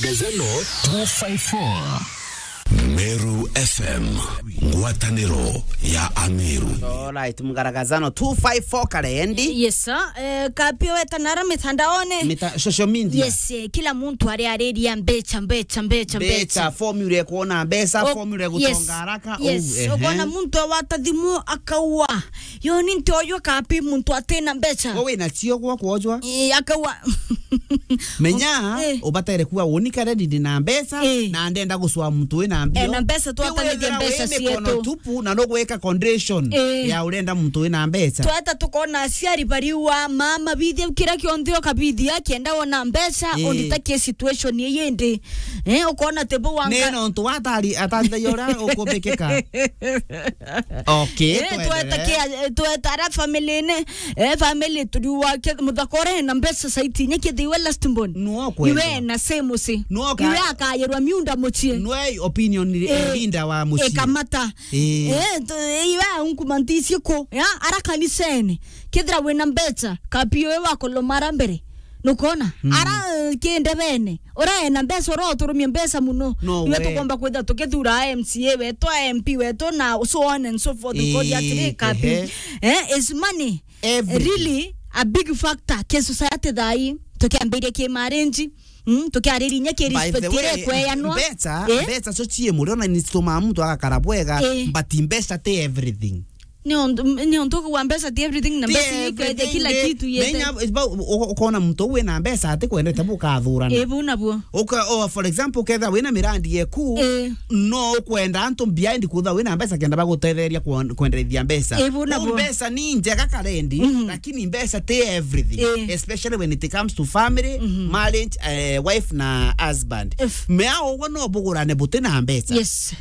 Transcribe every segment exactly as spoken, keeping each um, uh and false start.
Gazano two five four. Meru F M, ngwataniro ya Ameru. Alright, mgaragazano two five four Karendi. Yes, sir. Eh, kapio weta nara mitandaone. Mita-, social media. Yes, eh, kila muntu ari ariria mbecha, mbecha, mbecha, mbecha. Mbecha, formula ya kuona mbecha, O-, formula ya yes, gutonga haraka. Yes, Oh, ehe. Ukona muntu awata thimu akaua. Yo ni nti oyo kapi muntu atina mbecha. We wina cio gwa kwojwa. Eh, akaua. Menya, Eh. ubataire kuwa uni Karendi ndi na mbecha, Eh. na ndenda gucwa muntu wina mbio. Eh, na mbecha Riu twatanithia wethira mbecha wi mikono cietu. tupu na nugwika condition Eh. ya urenda muntu wina mbecha. Tweta tukona aciari bariua, mama bithia kira kionthe ukabithia, kienda wona mbecha, Eh. unditakie situation ii indi. Eh, ukona te bo wanga. Ni nontu watari, atathagia uria ukumbikika. Okay, Eh, tuendelee. Tweta kia, eh, tweta ara family ne, eh, family turiwa ke, muthaka ore na mbeca saiti, nye kithiwe last born. Nuo kwenda. Iwe na same si. Nuo ka- Iwe akayerwa miunda muchie. Nuo opinion Eh, leader wa muchie. Ikamata. Eh. Eh, tu-, iwe unkumantisie ko, ya, ara kanisene. Kethira wina mbecha, kapio we wakolomara mbere. Nukona? Mm. Ara, eh, kindebene. Ura ena mbeca, ura uturumia mbeca muno. No Iwe we. Tukomba kwitha tukithura M C A wetu, M P wetu, na so on and so forth. Nkoria atiri, Eh, kapi. Ehe. Eh, is money Everything. Really a big factor ki society thai? Tukiambiria ki marriage, mm, tukiariria inya ki By the respect way, ire kweyanwa. Mbeca, Eh? Mbeca cio cii murio na ni citumaa muntu agakara bwega, Eh. But mbeca ti everything. Ni untu, ni untu kuwa mbeca ti everything, na Ti mbeca ni ikwethia everything, kila ni kitu yete. Menya, ba-, u-, u-, ukona muntu wina mbeca ati kwendete bukathurana. Eh, bu nabuo. Uka-, o, for example, ukethira wina mirandi yeku, Eh. No ukwenda antu behind kutha wina mbeca kenda bagutetheria kwen-, kwenderethia mbeca. Eh, bu Kuu nabuo. Mbeca ni njega Karendi, Mhm. Lakini mbeca ti everything. Eh. Especially when it comes to family, Mhm. Marriage, eh, wife na husband. If Mea uguo no bugurane buti na mbeca. Yes.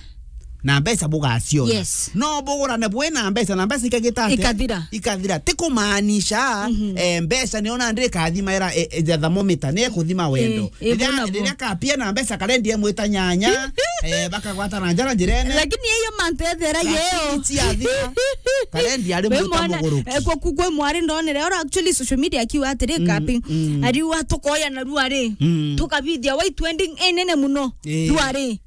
Na mbeca bugaciona. Yes. No bugurane bwina mbeca na mbeca ikagita atia? Ikathira. Ikathira. Ti kumaanisha, Mhm. eh, mbeca ni ona ndi kathima era, eh, eh, the thermometer, ni ekuthima wendo. Eh, eh, Riria, bu nabuo. Riria kapia na mbeca Karendi emwita nyanya, eh, bakagwata na njara njirene. Lakini iyo mantu ethera Lakini yeo. Ciathira, Karendi ari We mwita mwana, muguruki. Eh, kwa kukwe mwari ndonere, ora actually social media akiwa atiri Mm, kapi. Mm. Ariwa tukoya na ruari. Mm. Tukabithia waitu ending enene muno. Eh. Ruari.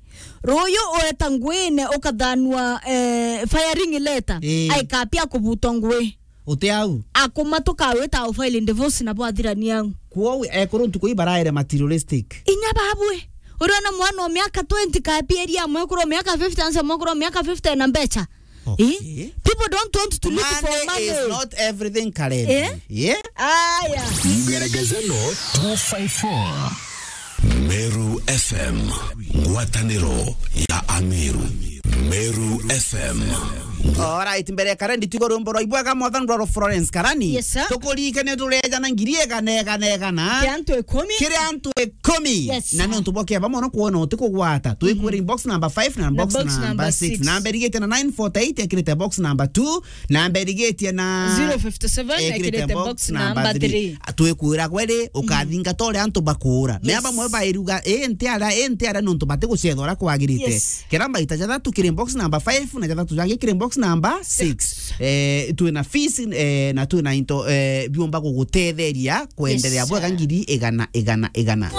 Ruyu ueta nguine ukathanua, eh, firing letter. Ii. Aikapia kubutwa ngui. Uti au? Akuma tukawita au file divorce na bwathirania au. Kwou ekuru ntuku ii baraere materialistic. Inya babwe. Uriona mwana o miaka twenty kapia eria mwekuru o miaka fifty, anse mwekuru o miaka fifty na mbecha. Okay. Eh? People don't want to look for money. Money is not everything, Karendi. Eh? Yeah? Aya. Mgaragazano two five four. Meru F M, ngwataniro ya Ameru. Meru F M. Alright, mbere ya Karendi tugo rwimbo rwa ibwega mwathani rwa Florence Karani. Yes, sir. Tukuririkane tureja na ngiri igana, igana, igana. Kiri antu ikumi. Kiri antu ikumi. Yes, sir. Na ni untu bwa kiaba mono kwona uti kugwata. Twikwira inbox number five na box number six. Namba irigitie na nine forty-eight ekirite box number two. Namba irigitie na zero fifty-seven ekirite box number three. Twikwira gweri, ukathingata uria antu bakuura. Mea bamwe bairuga, ii nti ara, ii nti ara, ni untu batigucetha uria kwagirite. Yes. Kira mbaita jathatu kiri box number five, na jathatu jangi kiri box number six. Eh, twina fees, eh, na twina into, eh, biumba gugutetheria kwenderea bwega ngiri igana, igana, igana.